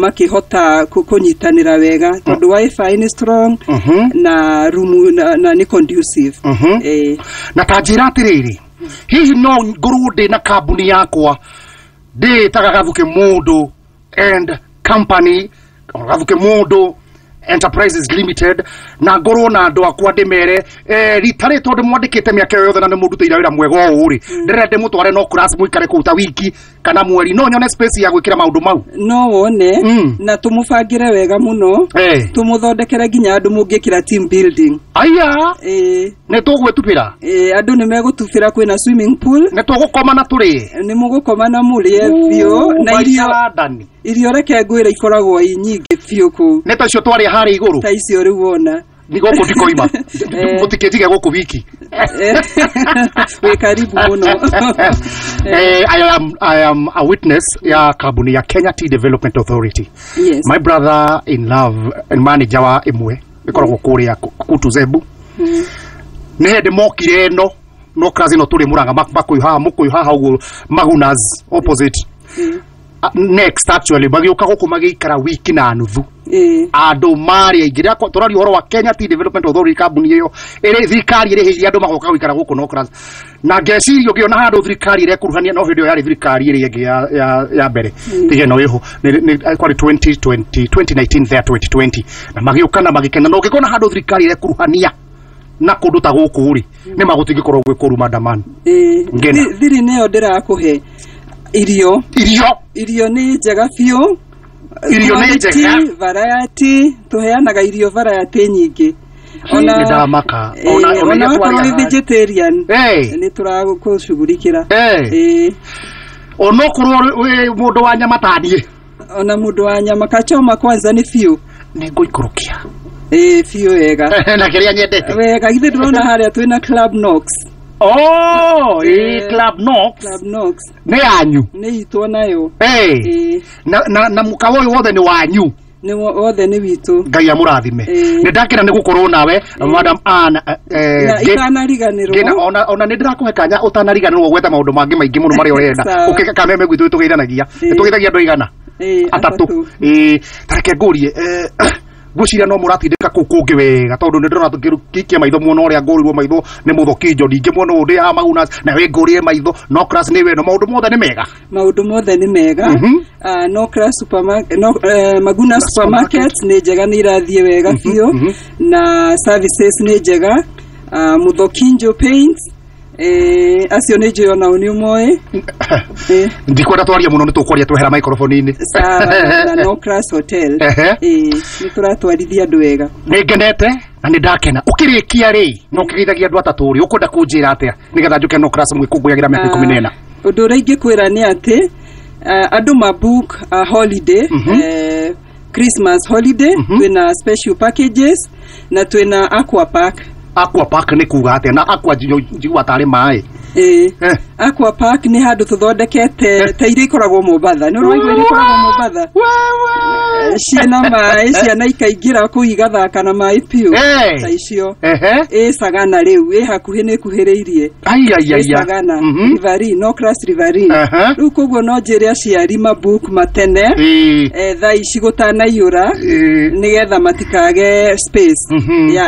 makĩhota kũnyitanĩra wega tondũ WiFi nĩ strong na room na nĩ conducive. Na ta njĩra atĩrĩrĩ, hihi no ngorwo ndĩ na kambuni yakwa ndĩĩtaga Gathuke Mũndũ and Company, Gathuke Mũndũ Enterprises Limited, na ngorwo na andũ akwa ndĩmere rita rĩ tondũ mwandĩkĩte mĩaka ĩyo yothe na nĩ mũndutĩire wĩra mwega ũũ rĩ, ndĩrenda ndĩmũtware no class mũikare kũu ta wiki kana mweri, no nyone space ya gwĩkĩra maũndũ mau? No wone na tũmũbangĩre wega mũno, tũmũthondekere nginya andũ mũngĩkĩra team building. Aya. Ĩĩ. Nĩ tũgwĩtubĩra? Ĩĩ, andũ nĩ megũtubĩra, kwĩna swimming pool. Nĩ tũgũkoma na tũrĩe? Nĩ mũgũkoma na mũrĩe biũ na irio. Ndani. Irio reke ngwĩre ikoragwo i nyingĩ biũ kũu. Nĩ ta icio twarĩa harĩa igũrũ? Ta icio rĩu wona. Nĩ gũkũ ndikoima. Mũtikĩnjige gũkũ wiki. Wĩ karibu mũno. I am a witness ya kambuni ya Kenya Tea Development Authority. My brother in love and manager wa ĩmwe ĩkoragwo kũrĩa Kutu Zebu. Nĩ hĩndĩ mokire ĩno no class ĩno tũrĩ Mũrang'a makũyũ haha, mũkũyũ haha ũguo, Magunas opposite. Next actually magĩũka gũkũ magĩikara wiki na nuthu. Andũ marĩ aingĩ. Rĩrĩa tũraria ũhoro wa Kenya Tea Development Authority, kambuni ĩyo ĩrĩ thirikari ĩrĩhĩirie andũ magoka gũikara gũkũ no class, na ngeciria ũngĩona handũ thirikari ĩrekuruhania no hĩndĩ ĩyo yarĩ thirikari ĩrĩa ĩngĩ ya mbere, tiga ĩno ĩho, kwarĩ 2020, 2019 there, 2020, na magĩũka na magĩkena. Na ũngĩkona handũ thirikari ĩrekuruhania na kũndũ ta gũkũ rĩ, nĩ magũtingĩkorwo gwĩ kũru mandaman. Ngena. Thiri nĩyo ndĩrakũhe irio. Irio. Irio nĩ njega biũ. Irio nĩ Quality, njega. Variety, tũheanaga irio variety nyingĩ. Nĩ ndamaka. Ona ona iria wakorwo twarĩa wĩ vegetarian, nĩ tũragũcugurikĩra. Onokorwo wĩ mũndũ wa nyama ta niĩ? Ona mũndũ wa nyama, kachoma kwanza nĩ biũ. Nĩ ngũikũrũkia. Ĩĩ, biũ wega. Na kĩrĩa nyendete. Wega, githĩ ndũrona harĩa twĩna Club Nox? Oh, ĩ Club Nox. Club Nox. Nĩ yanyu? Nĩ itũ nayo. Eh. Na mũkawa ũyũ wothe nĩ wanyu? Nĩ wothe nĩ witũ. Ngai amũrathime. Nĩ ndakena nĩ gũkorwo nawe, Madam Ann. Na itanariganĩrwo. Ngĩna ona nĩ ndĩrakũhe kanya ũtanariganĩrwo gwetha maũndũ mangĩ maingĩ mũno marĩa ũrenda. Sawa. Ũkĩka kameme gwitũ tũgeithanagia. Tũgeithagia andũ aigana? Atatũ. Atatũ. Ĩĩ, ta reke ngũrie, ngwĩciria no mũratindĩka kũu kũngĩ wega tondũ nĩ ndĩrona tũkĩikia maitho muona ũrĩa ngũrirwo maitho nĩ mũthokinjo, ningĩ muona ũyũ ndĩ haha Magunas na wĩ ngũrire maitho no class nĩ weno, maũndũ mothe nĩ mega. Maũndũ mothe nĩ mega. No class supermarket, no, Maguna Supermarket nĩ njega, nĩ irathiĩ wega biũ na services nĩ njega. Mũthokinjo Paint, acio nĩ njũĩ onao nĩ ũmoĩ. Ndikwenda twarie mũno, nĩ tũkwaria twehera microphone-inĩ. Sawa, na no class hotel. Nĩ tũratwarithia andũ wega. Nĩ ngenete na nĩ ndakena. Ũkĩrĩkia rĩ, na ũkĩgeithagia andũ atatũ rĩ, ũkwenda kũnjĩra atĩa nĩgetha njũke no class mwĩkũngũyagĩra mĩaka 14? Ũndũ ũrĩa ingĩkwĩra nĩ atĩ andũ ma book holiday, Christmas holiday, twĩna special packages na twĩna aqua park. Aqua park nĩ kuga atĩa? Na aqua njigua tarĩ maĩ. Ĩĩ, aqua park nĩ handũ tũthondekete ta iria ikoragwo Mombatha. Nĩ ũraigua iria ikoragwo Mombatha ciĩna maĩ, ciana ikaingĩra kũu igathaka na maĩ biũ, ta icio. Ĩ Sagana rĩu ĩ hakuhĩ, nĩ ĩkuhĩrĩirie. Ai ai ai. Ĩ Sagana, Riverine, no class Riverine. Rĩu koguo no njĩre aciari mabook matene thaa ici gũtanaiyũra nĩgetha matikage space ya